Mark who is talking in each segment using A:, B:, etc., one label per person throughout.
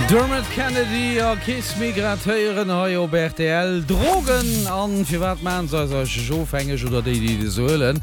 A: Dermot Kennedy a Kiss Me grad héieren hei op rtl. Drogen an firwat maachen se eis eigentlech ofhängeg oder déi déi se huelen?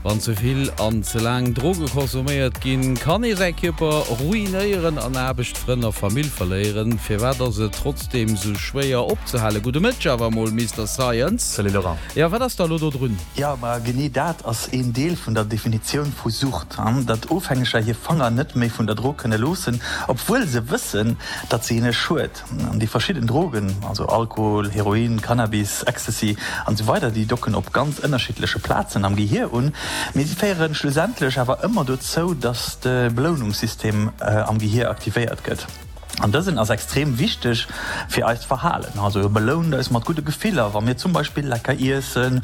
A: Wann ze vill an ze laang Droge consomméiert ginn, kann ee säi Kierper ruinéieren an Aarbecht, Frënn a Famill verléieren. Firwat ass et trotzdeem sou schwéier opzehalen? Gudde Mëtteg awer emol Mister Science.
B: Salut Laurent.
A: Jo, wat ass da lo do drun?
B: Jo, ma genee dat ass een Deel vun der Definitioun vu Sucht, datt Ofhängeger hir Fanger net méi vun der Drog kënne loossen, obwuel se wëssen, datt se hinne schued. An déi verschidden Drogen, also Alkohol, Heroin, Cannabis, Ecstasy an esou weider, déi docken op ganz ënnerschiddleche Plazen am Gehier un, mee si féiere schlussendlech awer ëmmer dozou, datt de Belounungssystem am Gehier aktivéiert gëtt. An dësen ass extrem wichteg fir eist Verhalen. Also e belount eis mat gudde Gefiller, wa mir zum Beispill lecker iessen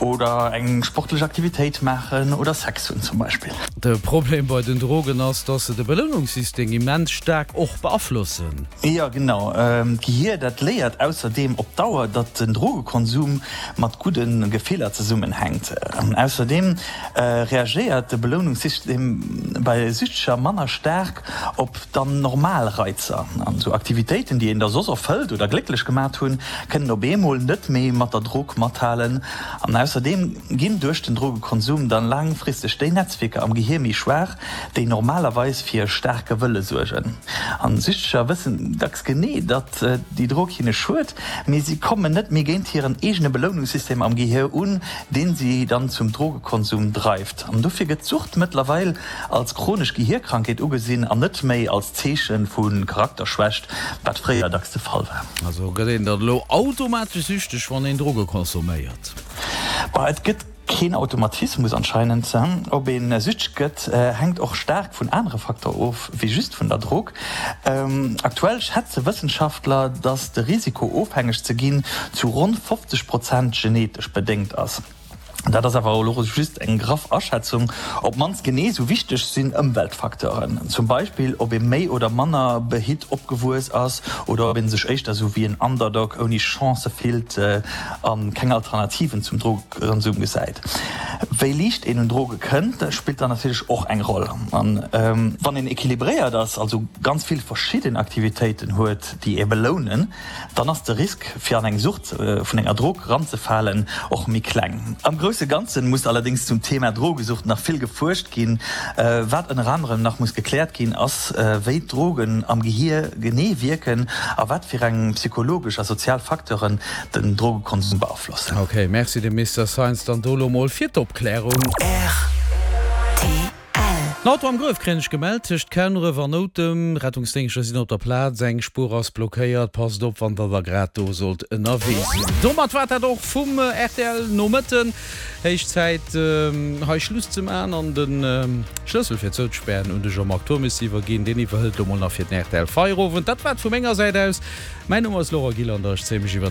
B: oder eng sportlech Aktivitéit maachen oder Sex hunn zum Beispill.
A: De Problem bei den Drogen ass, dass se de Belounungssystem immens staark och beaflossen.
B: Jo genau. D'Gehier dat léiert ausserdeem op Dauer, datt den Drogekonsum mat gudde Gefiller zesummenhänkt. Ausserdeem reagéiert de Belounungssystem bei Süchteger manner staark op Dann normal Reizer an esou Aktivitéiten, déi een da soss erfëllt oder glécklech gemat hunn, kënnen op eemol net méi mat der Drog mathalen. An ausserdeem ginn duerch den Drogekonsum dann laangfristeg déi Netzwierker am Gehier méi schwaach, déi normalerweis fir e staarke Wëlle suergen. An Süchteger wëssen dacks genee, datt déi Drog hinne schued, mee si kommen net méi géint hiren eegene Belounungssystem am Gehier un, deen si dann zum Drogekonsum dreift. An dofir gëtt d'Sucht mëttlerweil als chronesch Gehierkrankheet ugesinn an net méi als Zeeche vu Charakterschwächt, wat fréier dacks de Fall war.
A: Also gëtt een dann elo automatesch süchteg, wann een Droge consomméiert?
B: Bah, et gëtt keen Automatismus anscheinend. Ob ee süchteg gëtt, hänkt och staark vun anere Facteure of, wéi just vun der Drog. Aktuell schätze Wëssenschaftler, datt de Risiko ofhängeg ze ginn zu ronn 50 Prozent genetesch bedéngt ass. Dat ass awer elo just eng graff Aschätzung. Op d'mannst genee esou wichteg sinn Ëmweltfacteuren, zum Beispill ob ee méi oder manner behitt opgewuess ass oder ob ee sech éischter esou wéi en Underdog ouni Chancë fillt a keng Alternativen zum Drogekonsum gesäit. Wéi liicht een un Droge kënnt, spillt dann natierlech och eng Roll. An wann een equilibréiert ass, also ganz vill verschidden Aktivitéiten huet, déi ee belounen, dann ass de Risk fir an eng Sucht vun enger Drog eranzefalen och méi kleng. Am grousse Ganzen muss allerdéngs zum Thema Drogesucht nach vill gefuerscht ginn. Wat ënner anerem nach muss gekläert ginn, ass wéi d'Drogen am Gehier genee wierken a wat fir eng psychologesch a sozial Facteuren den Drogekonsum beaflossen.
A: Ok, merci dem Mister Science dann do lo mol fir d'Opklärung.
C: Rtl.
A: En Auto am Gruef kréien ech gemellt, tëscht Kernref an Noutem. Rettungsdéngschter sinn op der Plaz, eng Spuer ass blockéiert. Passt op, wann der da grad do sollt ënnerwee sinn. Domat war dat och vum rtl Nomëtten. Héich Zäit hei Schluss ze maachen an de Schlëssel fir zouzespären un de Jean-Marc Turmes ze iwwerginn. Deen iwwerhëlt lo mol nach fir den rtl Feierowend. Dat war et vu menger Säit aus. Mäin Numm ass Laurent Gillander, ech zéie mech iwwer.